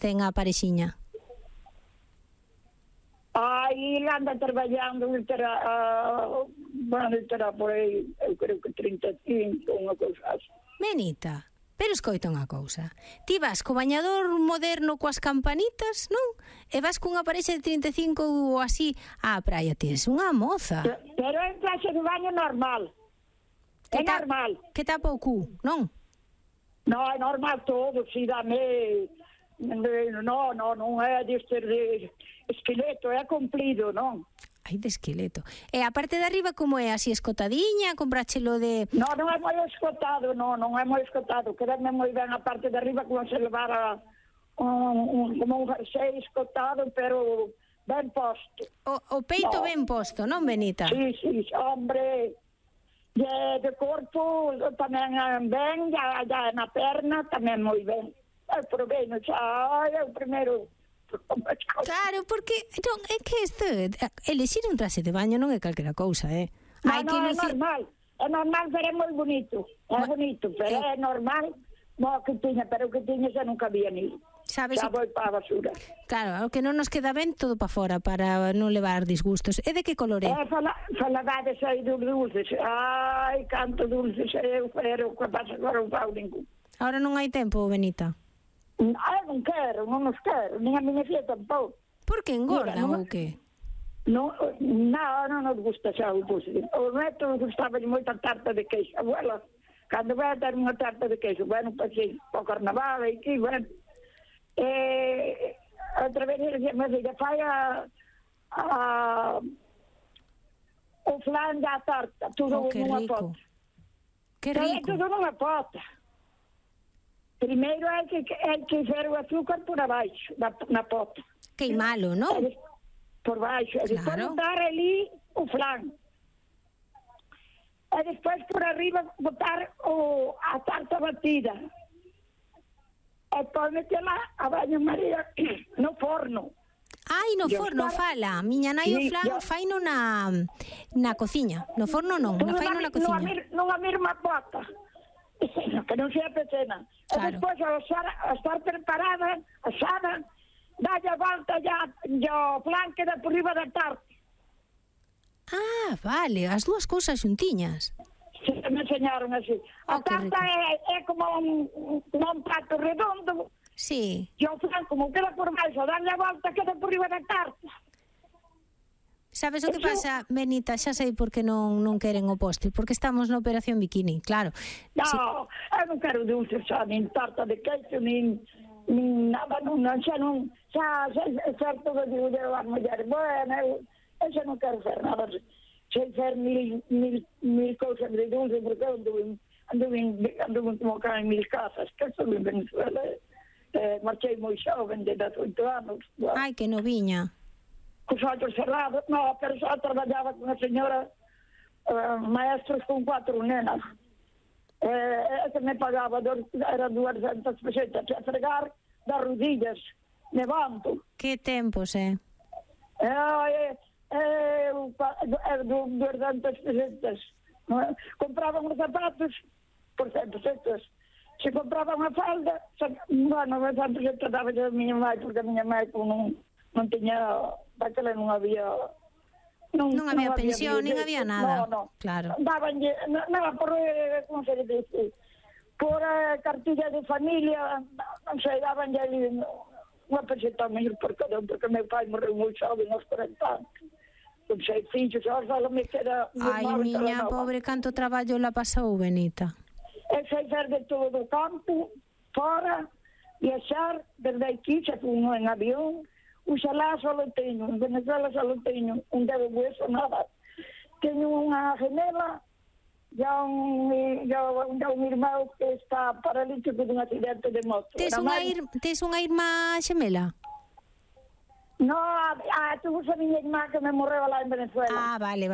ten a parexiña? Aí anda traballando, terá por aí, eu creo que 35, unha cousa así. Benita, pero escoita unha cousa. Ti vas co bañador moderno coas campanitas, non? E vas cunha parexa de 35 ou así á praia. Ti és unha moza. Pero é en clase de baño normal. É normal. Que tapa o cu, non? Non, é normal todo, si dame... Non é deste de esqueleto, é comprido, non? Ai, de esqueleto. E a parte de arriba como é? Así escotadiña? Compráchelo de... Non é moi escotado, non é moi escotado. Quedame moi ben a parte de arriba como se levara como un jersey escotado, pero ben posto. O peito ben posto, non, Benita? Sí, hombre... De corpo tamén ben, ya na perna tamén moi ben. Pero ben, xa é o primeiro. Claro, porque non, é que isto, elixir un traxe de baño non é calquera cousa, Non, é normal, pero é moi bonito. É bonito, pero é normal. No, que tiña, pero o que tiña xa non cabía ni. Sabes, xa foi para a basura. Claro, o que non nos queda ben todo para fora, para non levar disgustos. E de que color é? Falabades aí dos dulces. Ai, canto dulces eu, pero que pasa agora un pau ningún. Ahora non hai tempo, Benita? Non quero, non nos quero, nin a miña fia tampouco. Por que engordan ou que? Non nos gusta xa o dulce. O neto gustaba moito a tarta de queixo. Abuela, cando vai a ter unha tarta de queixo, bueno, pues sí, o carnaval, e que, bueno. Outra vez me diga, fai o flan da tarta, tudo nunha pota. Que rico. Tudo nunha pota. Primeiro hai que fer o azúcar por abaixo, na pota. Queimalo, non? Por baixo. E despois botar ali o flan. E despois por arriba botar a tarta batida. E depois metela a baño María no forno. Ai, no forno, fala. Miña nai o flan faino na cociña. No forno non, faino na cociña. Nunha mesma pota. Que non sea pequena. Claro. E despois, a estar preparada, asada, dalle a volta ya o flan queda por riba da tarta. Ah, vale, as dúas cousas xuntiñas. Sí, me enseñaron así. A tarta é como un prato redondo. Sí. E o flan, como queda por baixo, dalle a volta, queda por riba da tarta. Sabes o que pasa, Benita? Xa sei por que non queren o postre, porque estamos na operación bikini, claro. Non, eu non quero dulce xa, nin tarta de queixo, nin nada, xa é certo que digo eu as mulleres, bueno, eu xa non quero fer nada, sei fer mil cousas de dulce, porque eu anduve como cá en 1000 casas, que estou en Venezuela, marchei moi xoven, de 18 anos. Ai, que noviña. Cos ollos cerrados, pero só traballaba con a señora maestros con 4 nenas. Que me pagaba, era 200 pesetas, a fregar das rodillas, levanto. Que tempos, 200 pesetas. Compraban os zapatos por 100 pesetas. Se compraba unha falda, bueno, 100 pesetas daba a miña mãe, porque a miña mãe non tiña, daquela non había pensión, nin había nada. No. Claro. Dabanlle, nada por, como se dice, por cartilla de familia, non sei, dabanlle ali unha peseta mil por cada un, porque meu pai morreu moi xoven aos 40 anos. Con 6 fillos, só me queda... Ai, miña pobre, canto traballo la pasou, Benita. E sei fer de todo o campo, fora, viaxar, desde aquí, xa fui en avión. Oxalá só lo teño, en Venezuela só lo teño, un dedo hueso, nada. Teño unha gemela, ya un irmão que está paralítico dun accidente de moto. Tes unha irmá xemela? No, tuvo a miña irmá que me morreu lá en Venezuela. Ah, vale.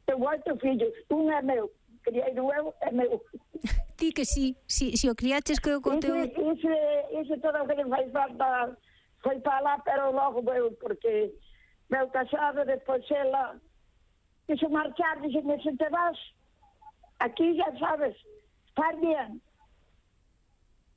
Tengo 8 fillos, un é meu, criei eu, é meu. Ti que si o criaches que o conteu... Iso todo o que le fai falta... Foi para lá, pero logo veu, porque veu casado, depois ela quixo marchar, dixeme, se te vas, aquí já sabes, estar bien.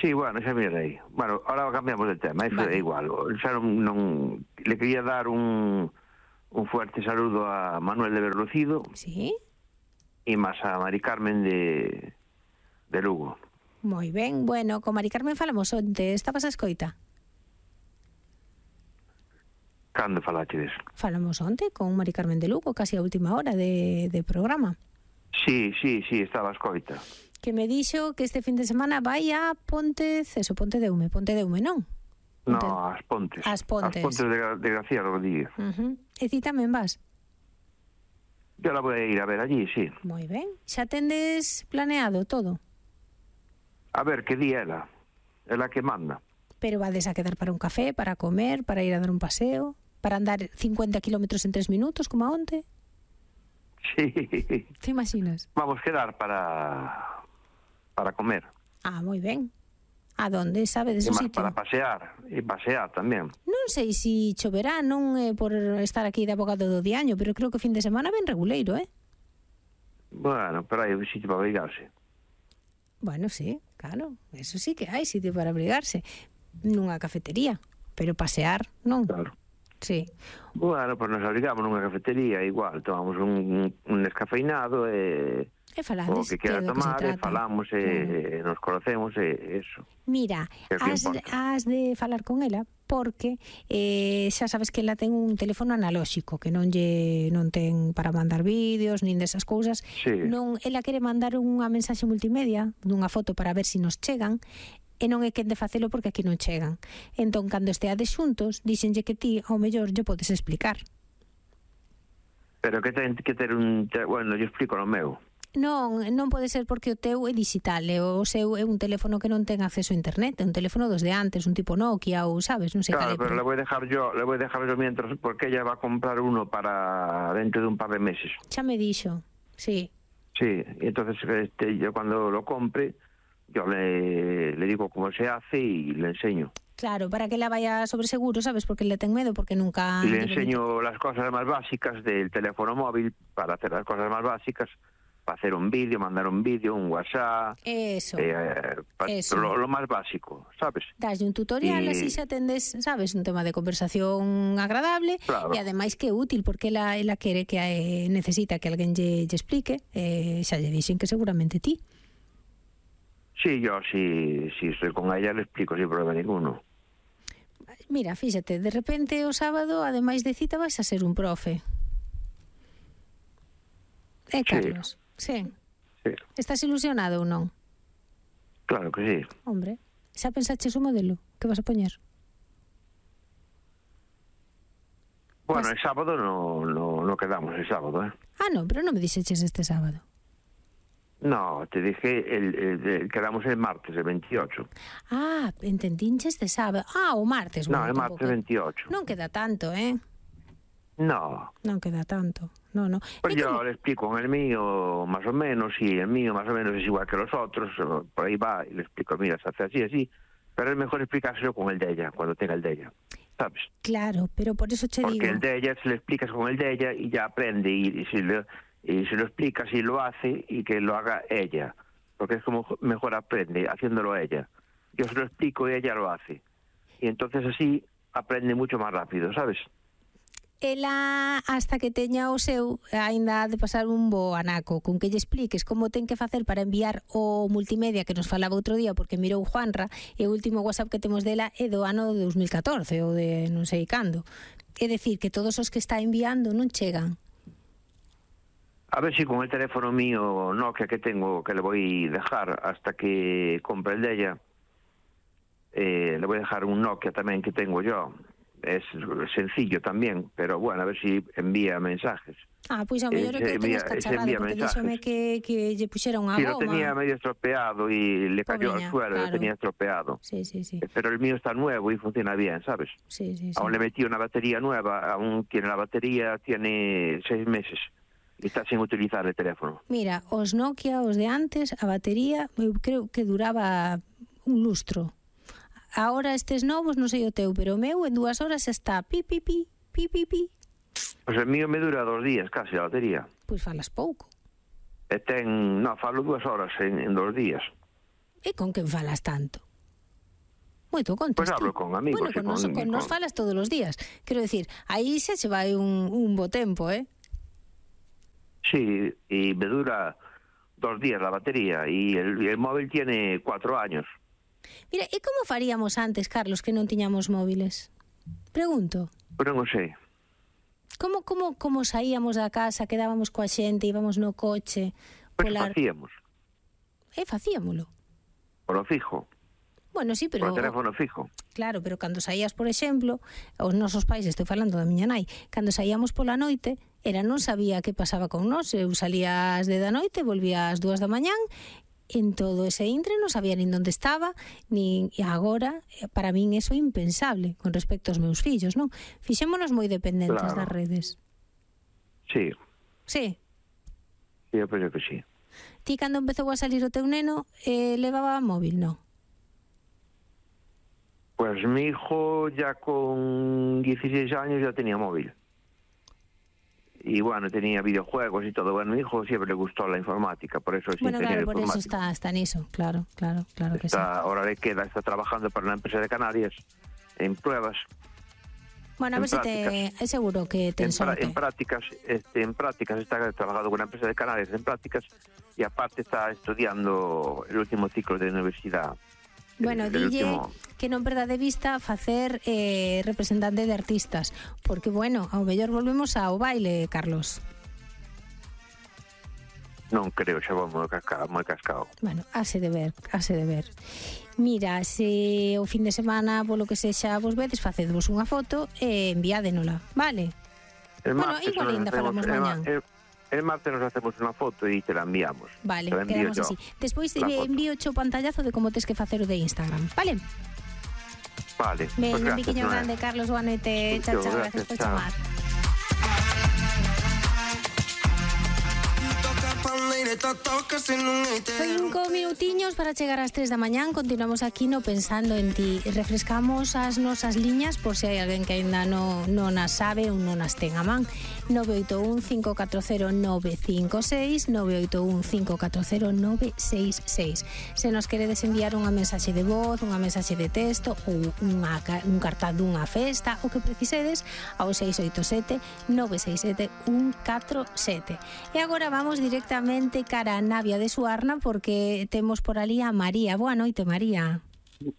Sí, bueno, xa mirei. Bueno, ahora cambiamos de tema, eso é igual. Xa non... Le quería dar un fuerte saludo a Manuel de Berlucido. Sí. E máis a Mari Carmen de Lugo. Moi ben, bueno, con Mari Carmen falamos onte, estabas a escoita? Cando falachedes? Falamos onte con Mari Carmen de Lugo, casi a última hora de programa. Sí, estaba a escoita. Que me dixo que este fin de semana vai a Ponte de Ume, non? No, as Pontes. As Pontes de García Rodríguez. E ti tamén vas? Yo la voy a ir a ver allí, sí. Moi ben. Xa tendes planeado todo? A ver, que día ela? Ela que manda. Pero vades a quedar para un café, para comer, para ir a dar un paseo, para andar 50 kilómetros en 3 minutos, como onte? Sí. Te imaginas? Vamos a quedar para comer. Ah, moi ben. A donde, sabedes o sitio? Para pasear, e pasear tamén. Non sei se choverá, non por estar aquí de abogado do diaño, pero creo que fin de semana ben reguleiro, Bueno, pero hai un sitio para abrigarse. Bueno, sí, claro, eso sí que hai sitio para abrigarse. Nunha cafetería, pero pasear, non? Claro. Sí. Bueno, pues nos abrigamos nunha cafetería, igual, tomamos un descafeinado e falades, o que quera tomar, falamos e nos conocemos e eso. Mira, has de falar con ela porque xa sabes que ela ten un teléfono analóxico que non ten para mandar vídeos nin desas cousas. Sí. Non, ela quere mandar unha mensaxe multimedia dunha foto para ver se nos chegan e non é quen de facelo porque aquí non chegan. Entón, cando esteades xuntos, díxenlle que ti, ao mellor, lle podes explicar. Pero que ten que ter un... Bueno, yo explico no meu. Non pode ser porque o teu é digital, e o seu é un teléfono que non ten acceso a internet, é un teléfono dos de antes, un tipo Nokia ou, sabes, non sei claro, cal é. Pero le voy a dejar yo mientras, porque ella va a comprar uno para dentro de un par de meses. Xa me dixo, sí. Sí, y entonces yo cuando lo compre, yo le digo cómo se hace y le enseño. Claro, para que la vaya sobre seguro, ¿sabes? Porque le tengo miedo, porque nunca... Y le enseño las cosas más básicas del teléfono móvil, para hacer las cosas más básicas, para hacer un vídeo, mandar un vídeo, un WhatsApp... Eso. Lo más básico, ¿sabes? Daslle un tutorial, así xa tendes, ¿sabes? Un tema de conversación agradable, claro. E ademais que é útil, porque ela quere que necesita que alguén lle explique, xa lle dixen que seguramente ti. Sí, yo si estoy con ella le explico sin problema ninguno. Mira, fíxate, de repente o sábado, ademais de cita, vas a ser un profe. Carlos? Sí. Estás ilusionado ou non? Claro que sí. Hombre, xa pensaches o modelo que vas a poñer? Bueno, el sábado no quedamos el sábado, ¿eh? Ah, no, pero non me dixeches este sábado. No, te dije, quedamos el martes, el 28. Ah, entendinches de sábado. Ah, o martes. No, el martes 28. Non queda tanto, ¿eh? No. Non queda tanto, no. Pues yo le explico en el mío más o menos, y el mío más o menos es igual que los otros, por ahí va, y le explico, mira, se hace así, pero es mejor explicárselo con el de ella, cuando tenga el de ella, ¿sabes? Claro, pero por eso te digo... Porque el de ella, se le explicas con el de ella y ya aprende, y se lo explicas y lo hace, y que lo haga ella, porque es como mejor aprende haciéndolo ella. Yo se lo explico y ella lo hace, y entonces así aprende mucho más rápido, ¿sabes? Ela, hasta que teña o seu, aínda ha de pasar un bo anaco, con que lle expliques como ten que facer para enviar o multimedia que nos falaba outro día, porque mirou Juanra, e o último WhatsApp que temos dela é do ano 2014, ou de non sei cando. É dicir, que todos os que está enviando non chegan. A ver si con el teléfono mío Nokia que tengo, que le voy a dejar hasta que compre el de ella, le voy a dejar un Nokia también que tengo yo. Es sencillo también, pero bueno, a ver si envía mensajes. Ah, pois a mellor é que o teñas cacharrado, porque díxome que lle puxera unha goma. Sí, lo tenía medio estropeado y le cayó al suelo, claro. Lo tenía estropeado. Sí. Pero el mío está nuevo y funciona bien, ¿sabes? Sí. Aún le metí una batería nueva, aún tiene la batería, tiene 6 meses. Y está sin utilizar el teléfono. Mira, os Nokia, os de antes, a batería, eu creo que duraba un lustro. Ahora estes novos, non sei o teu, pero o meu en 2 horas está pi. Pues el mío me dura 2 días casi a batería. Pois falas pouco. Falo 2 horas en 2 días. E con quen falas tanto? Moito contas. Pois hablo con amigos. Bueno, con nos falas todos os días. Quero decir, aí xa se vai un bo tempo, Sí, y me dura 2 días la batería y el móvil tiene 4 años. Mira, e como faríamos antes, Carlos, que non tiñamos móviles? Pregunto. Pero non sei. Como saíamos da casa, quedábamos coa xente, íbamos no coche? Pois facíamos. Facíamolo. Por lo fijo. Bueno, sí, pero... Por teléfono fijo. Claro, pero cando saías, por exemplo, os nosos pais, estou falando da miña nai, cando saíamos pola noite, non sabía que pasaba con nós. Eu salía ás 10 da noite, volvía ás 2 da mañán, en todo ese intre non sabía nin onde estaba, e agora, para min, eso é impensable con respecto aos meus fillos, non? Fixémonos moi dependentes das redes. Sí. Sí? Sí, eu penso que sí. Ti, cando empezou a salir o teu neno, levaba móvil, non? Pues mi hijo ya con 16 años ya tenía móvil. Y bueno, tenía videojuegos y todo. Bueno, a mi hijo siempre le gustó la informática, por eso es ingeniero claro, por informático. eso está en eso, claro que sí. Ahora le queda, está trabajando para una empresa de Canarias en pruebas. Bueno, a ver si es seguro que te sorte. En prácticas está trabajando con una empresa de Canarias en prácticas y aparte está estudiando el último ciclo de universidad. Bueno, dille que non perda de vista facer representante de artistas, porque, bueno, ao mellor volvemos ao baile, Carlos. Non creo, xa vou moi cascado. Bueno, hase de ver. Mira, se o fin de semana, polo que sexa, vos vedes, facedvos unha foto e enviádenola, vale? Bueno, igual ainda falamos mañán. El martes nos hacemos una foto y te la enviamos. Vale, quedamos así. Despois envío o pantallazo de como tens que facer o de Instagram, vale? Vale. Ben, pues un piquiño grande, Carlos, boa noite. Chao, gracias por chamar. 5 minutiños para chegar ás 3 da mañán. Continuamos aquí no Pensando en Ti. Refrescamos as nosas liñas por se hai alguén que ainda non as sabe ou non as ten a man. 981-540-956, 981-540-966. Se nos queredes enviar unha mensaxe de voz, unha mensaxe de texto ou un cartaz dunha festa, o que precisedes, ao 687-967-147. E agora vamos directamente cara a Navia de Suarna porque temos por ali a María. Boa noite, María.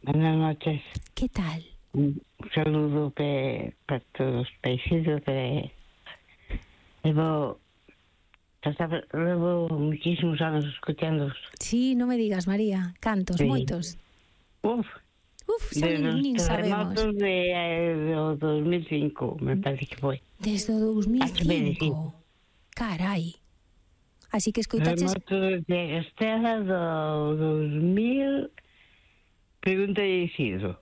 Buenas noches. Que tal? Un saludo para todos os paisanos Llevo muchísimos anos escuchándoos. Sí, non me digas, María. Cantos, sí. Moitos. Xa nin sabemos. Desde os terremotos do 2005, me parece que foi. Desde o 2005? Carai. Así que escoitaches... Terremotos de Estela do 2000... Pregunta de Isidro.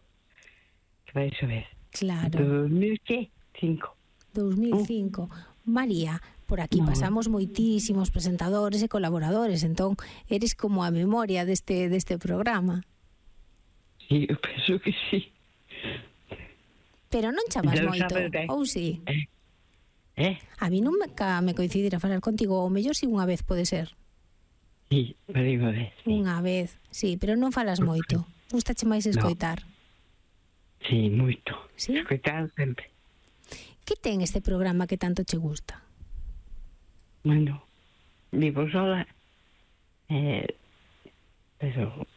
Que vai saber. Claro. Do 2005. 2005. María, por aquí pasamos moitísimos presentadores e colaboradores, entón eres como a memoria deste programa. Sí, eu penso que sí. Pero non chamas moito, ou sí? A mí non me coincidir a falar contigo, ou mellor si unha vez pode ser. Sí, pero unha vez. Sí. Unha vez, sí, pero non falas moito. Gustache máis escoitar? Sí, moito. Sí? Escoitar sempre. Que ten este programa que tanto che gusta? Bueno, vivo sola, pero...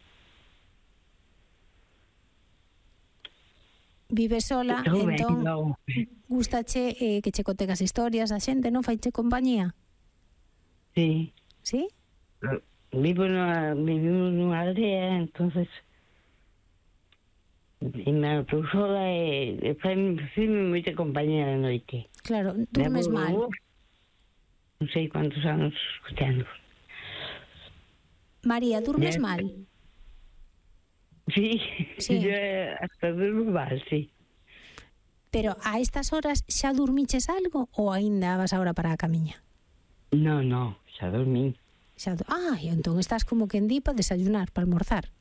Vive sola, entón, gustache que che conten as historias a xente, non faiche compañía? Sí. Sí? Vivimos nunha aldea, entonces... E me estou sola e faime moita compañía de noite. Claro, durmes mal. Non sei quantos anos escuchando. María, durmes mal? Sí, yo hasta durmo mal, sí. Pero a estas horas xa dormiches algo ou aínda vas agora para a camiña? No, xa dormí. E entón estás como que en di para desayunar, para almorzar.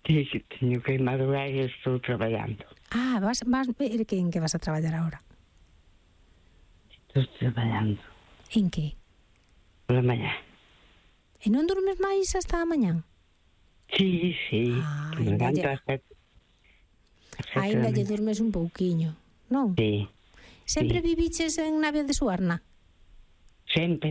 Sí, teño que madrugar e estou traballando. Vas ver en que vas a traballar agora? Estou traballando. En que? Pola mañá. E non dormes máis hasta a mañá? Sí. Ainda lle durmes un pouquiño, non? Sí. Sempre viviches en Navia de Suarna? Sempre.